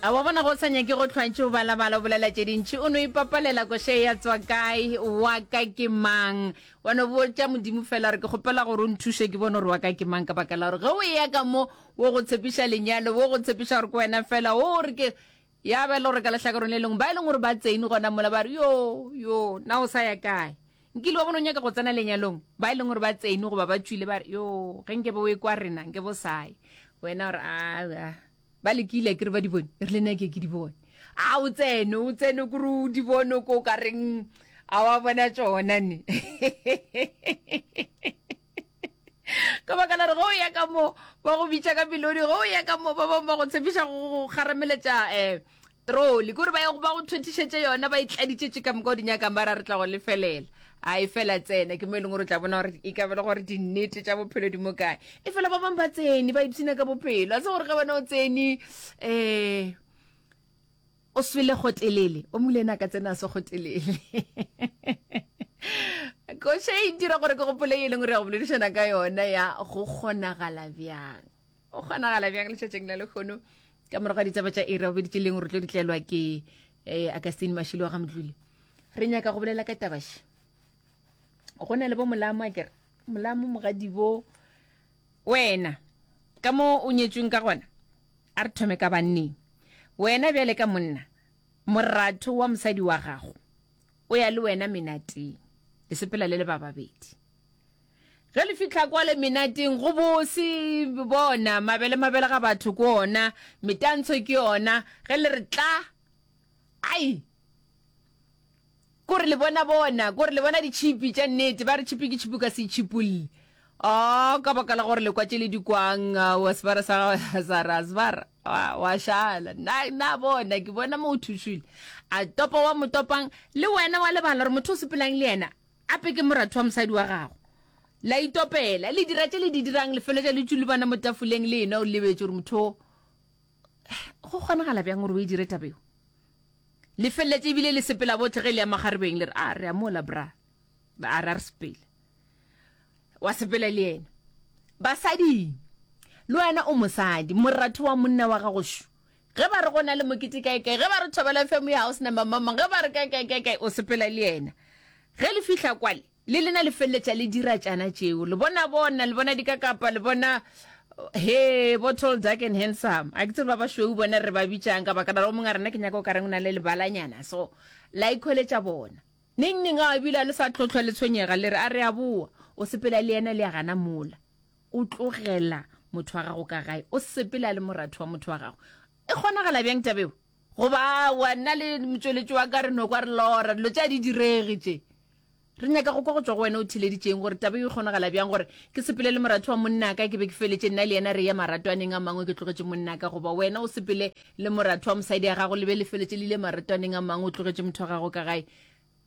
A wa bona go sa nyake go hlwantše o balabala o bolela tše dintši o no ipapalela koše ya tswa kae wa ka ke mang wa no botša modimo fela gore ke kgopela gore o nthuše ke bone gore wa ka ke mang ka baka la gore ge o eya ka mo wo go tshepiša lenyalo wo go tshepiša gore ke wena fela o re ke ya ba e le gore ka lehlakoreng le lengwe ba e leng gore ba tsene gona mola ba re yo yo na o sa ya kae nkile wa bona o nyaka go tsena lenyalong ba e leng gore ba tsene goba ba tšwile ba re yo ge nke be o e kwa rena nke bo saye wena gore a Ba lekile akere ba di bone, e rile nna ke ke di bone. A o tsene, o tsene kore o di bone ko o ka reng a wa bona tšona ne. Ka baka la gore ge o ya ka mo ba go bitša ka melodi, ge o ya ka mo ba bangwe ba go tshepiša go go kgarameletša um troli, kore ba ba go thwethišetše yona ba e tladitšetše ka moka o di nyakang ba ra re tla go lefelela. A e fela tsena ke mo e leng gore o tla bona gore e ka ba le gore dinnete tša bophelo di mo kae. E fela ba bangwe ba tsene ba ipshina ka bophelo, a se gore ge wena o tsene um o swele kgotelele, o mongwe le ena a ka tsena a se kgotelele. Koša e dira gore ke gopole e leng gore ya go boledišana ka yona ya go kgonagala bjang. Go kgonagala bjang letšatšing la lehono ka morago ga ditaba tša iri ya bobedi tše leng gore tlo di tlelwa ke eh, Augustine Mashilo wa ga Mdluli. Re nyaka go bolela ka taba še. Go na le bo molamo akere molamo mogadibo wena ka mo o nyetšweng ka gona a re thome ka banneng wena bjale ka monna moratho wa mosadi wa gago o ya le wena menateng le sepela le le ba babedi Ge le fihla kwale menateng go bose, bona mabele mabele ga batho ke ona, metantsho ke yona, ge le re tla, ai, kore le bona bona, kore le bona ditšhipi tša nnete, ba re tšhipi ke tšhipi o ka se itšhipolle. Oh, ka baka la gore le kwa tše le di kwang, wa sebara sa sa ra sebara, wa, wa šala. Na, na bona, ke bona mo o thušwile. A topa wa mo topang, le wena wa lebala gore motho o sepelang le yena, Ape ke moratho wa mosadi wa gago. La itopela, le dira tše le di dirang, le feletša le tšulubana mo tafoleng le enwa o lebetše gore motho o go kgonagala bjang gore o e dire taba eo. Le feleletše ebile le sepela bohle ge le ya makgarebeng le re a re a mola bra, a re a re sepele. Wa sepela le yena. Basading, le wena o mosadi, moratho wa monna wa gago šo. Ge ba re go na le mokete kae kae, ge ba re Thobela FM ya house number mang mang, ge ba re kae kae kae kae, o sepela le yena. Ge le fihla kwale, le lena le feleletša le dira tšana tšeo. Le bona bona, le bona dikakapa, le bona he bo tall, dark and handsome. A ke tsebe ba bašweu bona re ba bitšang ka baka la gore o mongwe a rena ke nyaka o ka reng o na le lebalanyana. So la ikhweletša bona. Neng neng a ebile a le sa tlo hlwa le tshwenyega le re a re a boa. O sepela le yena le ya gana mola. O tlogela motho wa gago ka gae, o sepela le moratho wa motho wa gago. E kgonagala bjang taba eo? Goba aowa, nna le motšweletši wa ka re no kwa re lora, dilo tše a di direge tše. Re nyaka go kwa go tšwa go wena o theleditšeng gore taba eo e kgonagala bjang gore ke sepele le moratho wa monnaka ke be ke feletše nna le yena re ye maratwaneng a mangwe ke tlogetše monnaka goba wena o sepele le moratho wa mosadi ya gago le be le feletše le ile maratwaneng a mangwe o tlogetše motho wa gago ka gae.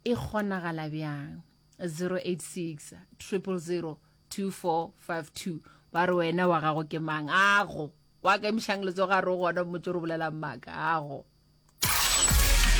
E kgonagala bjang? 086 000 2452 ba re wena wa gago ke mang ago wa ka emišang letsogo a re o gona mmotse re bolelang maaka ago.